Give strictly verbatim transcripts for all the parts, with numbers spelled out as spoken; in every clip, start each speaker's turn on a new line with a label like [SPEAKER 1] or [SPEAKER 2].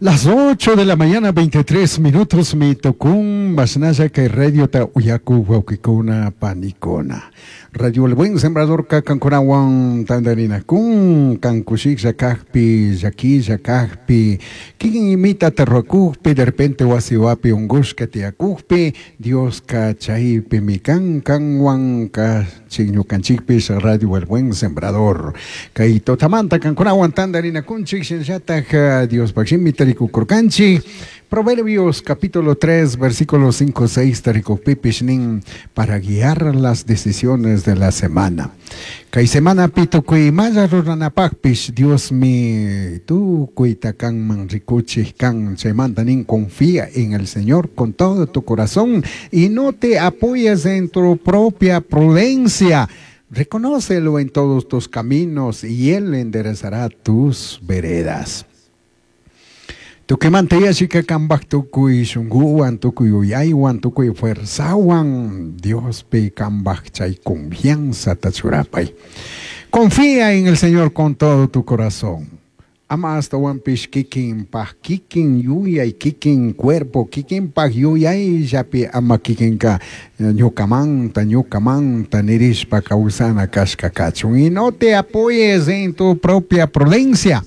[SPEAKER 1] Las ocho de la mañana, veintitrés minutos, mi tucun, mashnalla kay radiota uyaku wawkikuna panikuna. Radio El Buen Sembrador ka kankunawan tandarinakun, kankushiklla kakpi, llakilla kakpi, kikin imita tarrakukpi, de repente wasiwapi ungushka tiyakukpi, Dioska chaypimi kan kanwan ka ñukanchikpish Radio El Buen Sembrador. Kay tutamanta kankunawan tandarinakunchik, shinallatak Diospaj shimi tarikukurkanchik. Proverbios capítulo tres, versículos cinco, seis, tarikukpipish nin para guiar las decisiones de la semana. Kay semanapi tukuy imalla ruranapakpish Diosmi tukuyta kanman rikuchik kan. Chaymanta nin confía en el Señor con todo tu corazón y no te apoyes en tu propia prudencia. Reconócelo en todos tus caminos y Él enderezará tus veredas. Tukuymanta yallika kambaj tukuy shunkuwan, tukuy yuyaywan, tukuy fuerzawan, Diospi kambaj chay confianza churapay. Confía en el Señor con todo tu corazón. Ama ashtawanpish kikin paj kikin yuyay, kikin cuerpo, kikin paj yuyayllapi ama kikinka ñukamanta, ñukamanta nirishpa kawsana kashka kachun. Y no te apoyes en tu propia prudencia.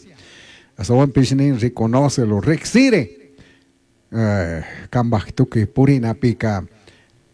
[SPEAKER 1] Ashtawanpish nin reconócelo, riksiri. Eh, kambaj tukuy purinapika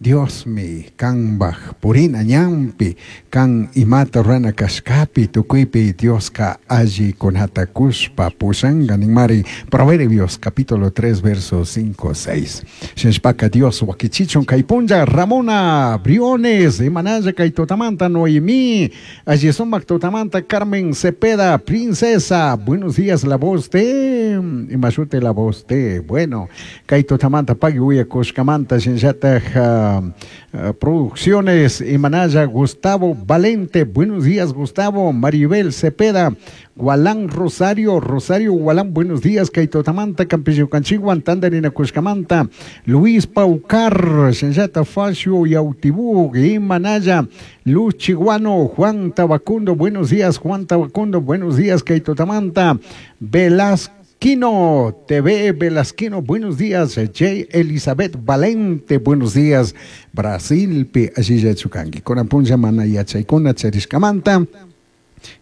[SPEAKER 1] Diosmi kambaj purina ñanpi, kan imata rurana kashkapi tukuypi Dioska allikunata kushpa pushanka ninmari Proverbios capítulo tres versos cinco, seis. Shinashpaka Dios wakichichun kay punlla Ramona Briones, imanalla kay tutamanta Noemí, alli sumak tutamanta Carmen Cepeda, Princesa, buenos días, la voz de, imashute la voz de, bueno, kay tutamanta pagui uyakushkamanta shinallataj, uh, uh, producciones Imanaya Gustavo Valente, buenos días Gustavo, Maribel Cepeda, Gualán Rosario, Rosario Gualán, buenos días, kay tutamanta, Campillo Canchiguan, Tandarina Cushcamanta, Luis Paucar, Shinllata Facio Yautibú, Imanaya, Luz Chiguano, Juan Tabacundo, buenos días, Juan Tabacundo, buenos días, kay tutamanta, Velasco Quino T V Velasquino, buenos días. J. Elizabeth Valente, buenos días. Brasil, pi allillachu kanki. Kunan punlla mana yachaykuna charishkamanta.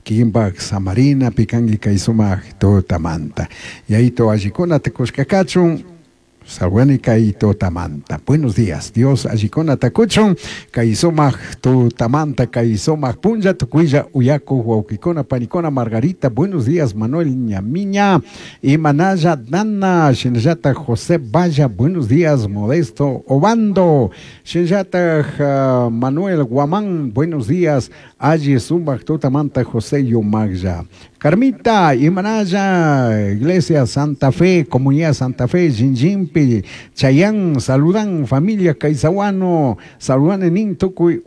[SPEAKER 1] Kikinpak samarina pikanki kay sumak tutamanta. Yayito allikunata kushka kachun. Salwani kay tutamanta. Buenos días. Dios allikunata kuchun. Kay sumak tutamanta, kay sumak punlla tukuylla uyaku wawkikuna panikuna Margarita. Buenos días Manuel Ñamiña. Imanaya Dana. Shinallata José Valla. Buenos días Modesto Obando. Shinallata uh, Manuel Guamán. Buenos días. Alli sumak tutamanta José Yumagya. Carmita, Imanaya, Iglesia Santa Fe, Comunidad Santa Fe, Jinjimpi, Chayán, saludan familia Caizahuano, saludan en Tukuy.